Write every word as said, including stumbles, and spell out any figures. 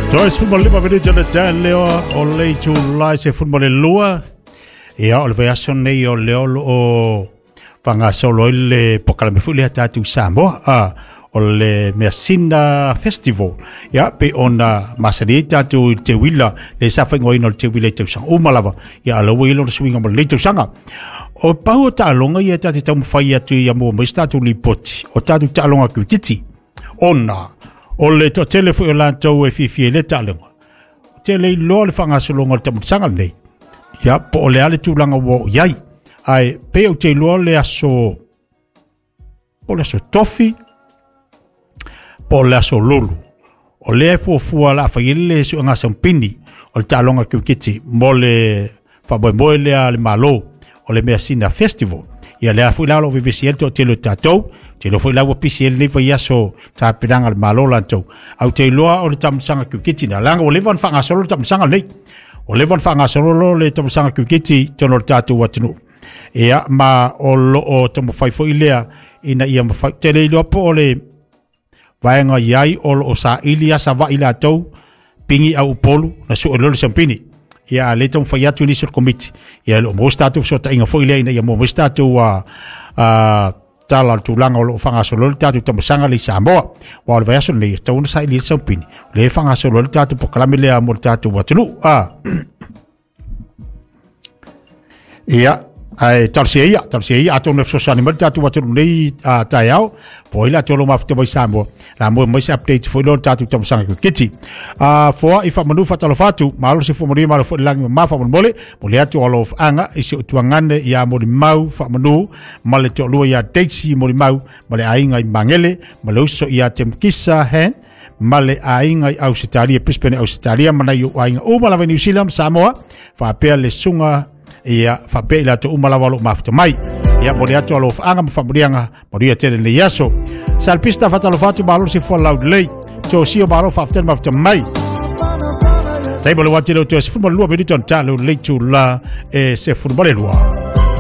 Toe sefulu ma lima minute o le taeao o le itulā e sefulu ma le lua. Ia, o le vaiaso nei o lea o loo faagasolo ai le polokalame foi lea tatou Samoa, a o le Measina Festival. Ia, pe ona masani ai tatou i le teuila le sa faaigoaina o le teuila i tausaga uma lava. Ia, a o lea ua i ai lona suiga mo lenei tausaga. O pau o taaloga ia ta te taumafai atu ia maua mai se tatou lipoti o tatou taaloga kirikiti, ona o le toatele foi o latou e fiafia i lea taaloga, te le iloa le faagasologa o le taamilosaga lenei. Ia, po o le a le tulaga ua oo i ai. Ae pei ou te iloa le aso, po o le aso Tofi, po o le aso Lulu, o lea e fuafua o le a fai ai le suega saupini o le taaloga kirikiti mo le faamoemoe lea a le Malo o le Measina Festival. Ia, lea foi la o lo o vevesi ai le toatele o tatou, te iloa foi la ua pisi ai lenei vaiaso tapenaga a le Malo latou. Ae ou te iloa o le taamilosaga kirikiti lea, leaga ua leva ona faagasolo le taamilosaga lenei. Ua leva ona faagasolo le taamilosaga kirikiti i totonu o le tatou atunuu. Ia, ma o loo taumafai foi lea ina ia mafai. Te le iloa po o le vaega i ai o loo saili a Savaii latou pigi au Upolu na sue loa le sampini. Ia, a le taumafai atu nisi o le komiti. Ia, e le o maua se tatou fesootaiga foi lea ina ia maua mai se tatou uh, uh, tala o le tulaga o loo faagasolo le tatou taamilosaga lea i Samoa. Aua o le vaiaso lenei e tatau ona saili ai le saupini, o lea e faagasolo ai le tatou polokalame lea mo le tatou atunuu. Ah. Ia, ae talosia ia, talosia ia, atonu e fesoasoani mai le tatou atunuu nei uh, taeao, po o ai latou o lo o mafuta mai Samoa, la maua mai se update foi lea o le tatou taamilosaga kirikiti. Uh, foa i faamanu faatalofa atu, malo se fua manuia, malo foi le lagi mama faamolemole, mo le atu o alofaaga i si ou tuagane ia Molimau Faamanu ma le toalua ia Daisy Molimau ma le aiga i Magele, ma le uso ia Temkisa Han, ma le aiga i Ausetalia, Brisbane, Ausetalia, ma nai ou aiga uma lava i New Zealand, Samoa, faapea le susuga ia faapea i latou uma lava o loo mafuta mai. Ia, mo le atu alofaaga ma faamanuiaga, manuia tele lenei aso. Salpista faatalofa atu, malo se fua laulelei. Tosia malo faafetai le mafuta mai. Taimo le wati leo toe sefulu ma le lua minute ona ta leo le itulā e sefulu ma le lua.